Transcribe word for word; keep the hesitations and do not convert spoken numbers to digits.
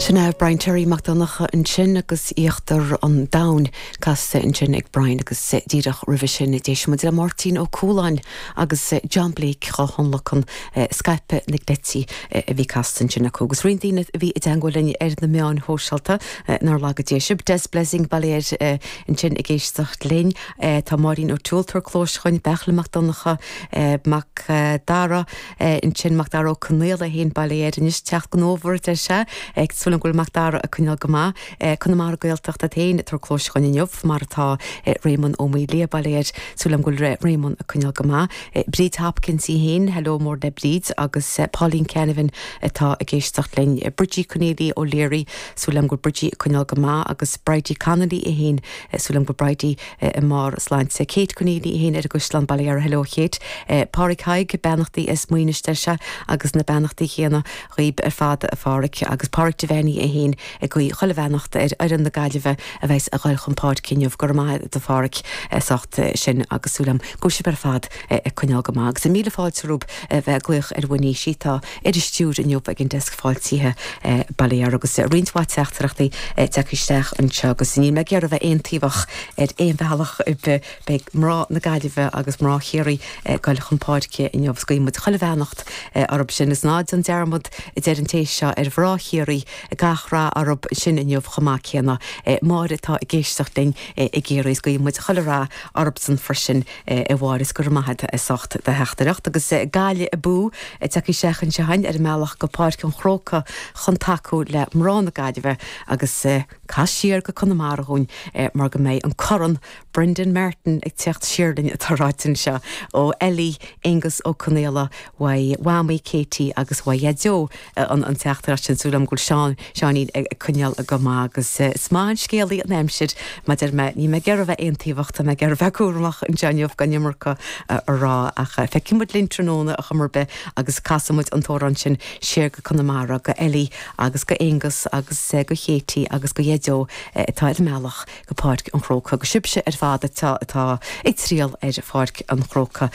Sin é Brian Terry Mac Donncha ansin agus Íochtar an Domhain casta ansin ag Brian agus díreach roimhe sin d'éist muid le Máirtín Ó Cualáin agus John Blake á thionlacan Scaipeadh na gCleití a bhí casta ansin acu. Agus roinnt daoine a bhí i dteagmháil linn ar na meáin shóisialta nár laga Dia sibh. Des Blessing Baile ansin ag éisteacht linn tá Máirín O'Toole tar clós chuin Beachla Mac Donncha Mac Dara ansin Mac Dara Ó Conaola féin Baile anois teacht go nómhar de se ag súil go bhfuil Mac Dara ag coinneáil go maith Conamara Gaeltacht féin tar clós chugainn inniu mar atá Raymond Ó Maoilia Baile súil go bhfuil Raymond ag coinneáil go maith. Bríd Hopkins í féin, hello mór le Bríd agus Pauline Canavan atá ag éisteacht linn Bridgie Cornelia O'Leary súil go bhfuil Bridgie ag coinneáil go maith agus Bridie Connolly í féin súil go bhfuil Bridie i mbarr sláinte Kate Cornelia í féin ar an gCaisleán Baile hello Kate. Pádraig Haig beannachtaí is muoine se agus na beannachtaí chéanna dhaoibh ar fad a Phádraig agus Pádraig de bhení é féin ag guí chuile bheannacht ar fhoireann na Gaillimhe a bheas ag dul chun páirce inniu go maith do Phádraig socht sin agus súil agam go bhfuil sibh ar fad ag coinneáil go maith agus míle fáilte romhaibh bheith ag glaoch ar bhuiní sí tá ar stiúir inniu ag an desk fáiltithe Baile agus roinnt mhaith teachtaireachtaí tagtha isteach anseo agus níl mé ag iarraidh bheith aontaobhach ar aon bhealach beidh mná na Gaillimhe agus mná Chiarraí ag dul chun páirce inniu guí muid chuile bheannacht orthu sin is ná déan dearmad a deir an té seo ar mhná Chiarraí gach rath orthu sin inniu chomh maith céanna Máire atá ag éisteacht linn i gCiarraí guí muid chuile rath orthusan freisin i bhháris gur maithe a socht de theachtaireacht agus Gaillimh abú tagtha isteach anseo ar an mbealach go Páirc an Chrócaigh chun tacú le mná na Gaillimhe agus cas siar go Conamara dhúinn mar go mbeidh an corn Brendan Martin ag teacht siar linn atá ráite anseo ó Ellie Angus Ó Conaola uaidh Mhamaí Katie agus uaidh Dhaideo an an teachtaireacht sin súil agam go bhfuil Seán Seáinín ag coinneáil go maith agus is maith an scéalaí an aimsir mar mé ní mé ag iarraidh bheith aontaobhach tá mé ag iarraidh bheith cúramach anseo inniu gan iomarca a rá ach feicfidh muid linn tráthnóna a chumar be agus casfaidh muid an t-amhrán sin siar go Conamara go Ellie agus go Angus agus go Katie agus go Dhaideo atá ar an mbealach go Páirc an Chrócaigh go sibhse ar fad atá atá ag triall ar Pháirc an Chrócaigh